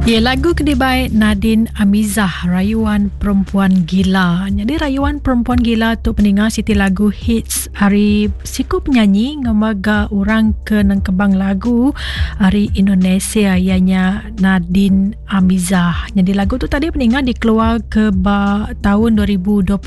Ya, lagu ke dibai Nadine Amizah, Rayuan Perempuan Gila. Jadi Rayuan Perempuan Gila tu peninga siti lagu hits ari siku penyanyi ngemaga orang ke nengkebang lagu ari Indonesia ianya Nadine Amizah. Jadi lagu tu tadi peninga dikeluar ke ba tahun 2023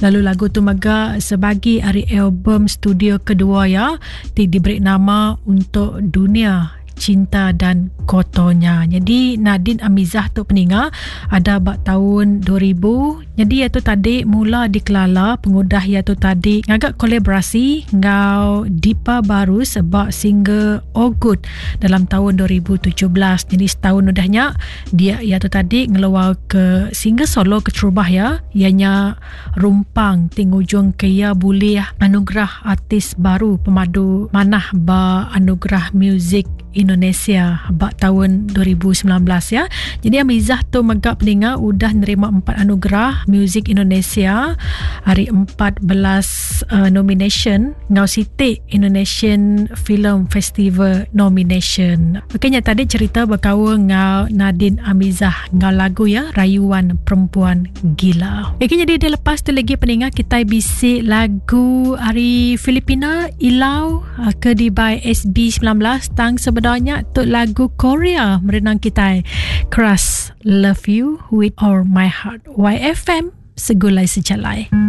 lalu lagu tu mega sebagi ari album studio kedua ya ti diberi nama untuk dunia cinta dan kotornya. Jadi Nadine Amizah tu peninga ada ba tahun 2000. Jadi ia tu tadi mula dikelala pengudah ia tu tadi ngagak kolaborasi ngau Dipa Baru sebab single Ogut dalam tahun 2017. Jadi setahun udahnya dia ia tu tadi ngeluar ke single solo keterubah ya ianya Rumpang ti ngujung ke iya bulih anugerah artis baru pemadu manah ba Anugerah Muzik Indonesia ba taun 2019 ya. Jadi Amizah tu mega peninga udah nerima empat anugerah Muzik Indonesia ari 14 uh, nomination enggau siti Indonesian Film Festival nomination. Okey nya tadi cerita bekaul enggau Nadine Amizah enggau lagu ya Rayuan Perempuan Gila. Okey jadi dia lepas tu lagi peninga kita bisi lagu ari Filipina Ilau uh, ke di by SB19 tang sebenarnya tu lagu Korea merenang kita Crush Love You With All My Heart YFM Segulai Sejalai.